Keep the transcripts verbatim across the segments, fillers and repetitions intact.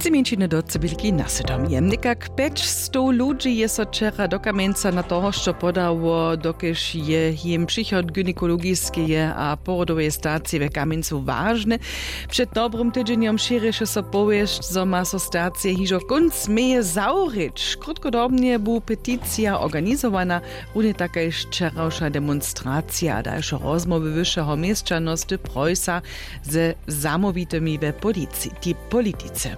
Tři mjeńšiny do cybělki na sydomje někak pjećstow ludźi je so wčera do kamjenca na to hosćo podało, dokelž je jim přichod gynekologiskeje a porodoweje stacije w kamjencu wažny. Před dobrim tydźenjom šěrješe so powěsć, zo ma so stacije hižo kónc meje zawrěć. Krótkodobnje bu peticija organizowana, runje tak kaž wčerawša demonstracija a dalše rozmołwy wyšeho měšćanosty preusa ze zamołwitymi we politice.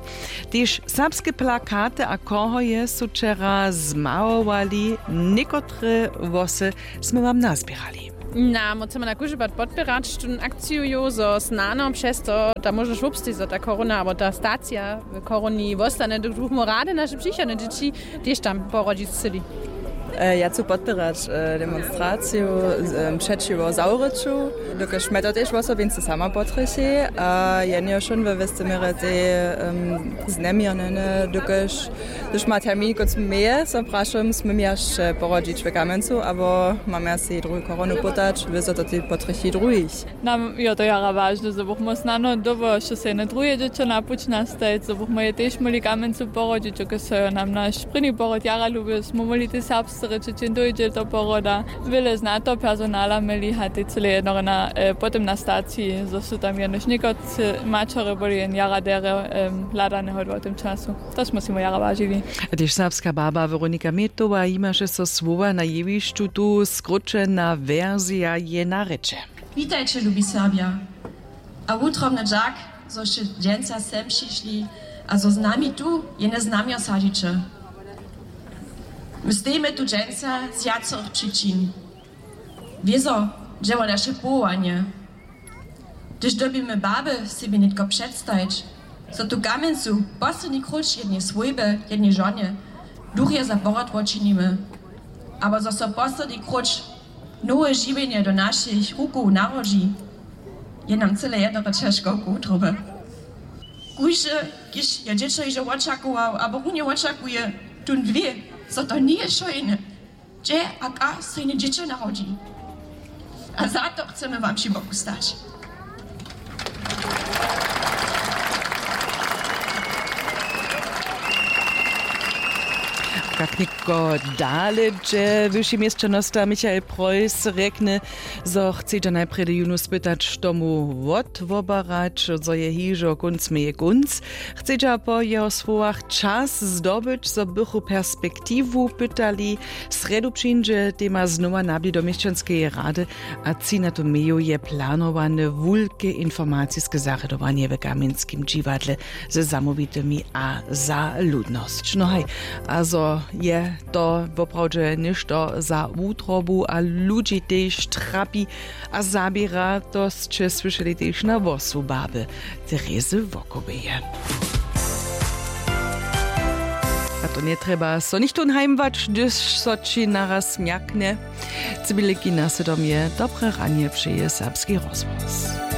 Tež serbske plakaty a kohoje su wčera zmałowali. Někotre włosy smy wam nazběrali. Na, móhcemy na kóždy pad podpěrać tón akciju, zo snano přez to ta móžnosć wobsteji, zo ta korona abo ta stacija w koroni wostane, dokelž bychmy rady naše přichodne dźěći tež tam porodźić chcyli. Ja chcu podpěrać demonstraciju přećiwo zawryću, dokelž mje to tež wosobince sama potrjechi a je njeho wšón we wěsty měrje tej zneměrnjene, dokelž hdyž ma termin kónc meje, so prašam, smym ja sće porodźić w kamjencu abo mam ja sej druhu koronu pytać, wězo to tej potrjechi druhich. Nam jo to jara wažne, zo bychmy snano dobo hišće sejne druhe dźěćo na puć nastajeć, zo bychmy je tež móhli w kamjencu porodźić, dokelž so jo nam naš prěni porod jara lubił, smy móhli te serbsce rěčeć, hdźeń dóńdźe do poroda. Wjele zna to personala měli a tej cyle jednorje na potom na staciji, zo su tam jenož někotře maćerje byli jen jara derje hladaneho w tym času. To smy sej jara wažili. A tež serbska baba Weronika Metowa jimaše so słowa na jewišću, tu skróćena wersija je na rěče. Witajće, lubi Serbja. A wutrobny dźak, zo sće dźensa sem přišli a zo z nami tu jene znamjo sadźiće. My stejimy tu dźensa z wjacorych přičin. Wězo dźe wo naše powołanje. Hdyž dyrbimy baby sebi nětko předstajić, zo tu w kamjencu posledni króć jednej swójby, jednej žonje, duchje za porod wočinimy, abo zo so posledni króć nowe žiwjenje do našich rukow narodźi, je nam cyle jednorje ćežko k wutrobje. Kóždy, kiž je dźěćo hižo wočakował abo runje wočakuje, tón wě, zo to njeje wšojne, hdźe a kak so jene dźěćo narodźi. A za to chcemy wam při boku stać. Kak nětko dale dźe, wyši měšćanosta Michael Preuss rjekny, zo chcedźa najprjedy jónu spytać, što mu wotwobarać, zo je hižo kónc meje kónc. Chcedźa po jeho słowach čas zdobyć, zo bychu perspektiwu pytali. Srjedu přińdźe tema znowa na bli do měšćanskeje rady a tři na to meju je planowane wulke informaciske zarjadowanje w kamjenskim dźiwadle ze zamołwitymi a za ludnosć. No haj, a zo je to woprawdźe něšto za wutrobu a ludźi tež trapi a zaběra, to sće słyšeli tež na hłosu baby Terezy Wokoweje. A to njetrjeba so nichtó najmwać, hdyž so ći naraz mjaknje. Cybiliki na sydom je dobre ranje přeje Serbski rozhłos.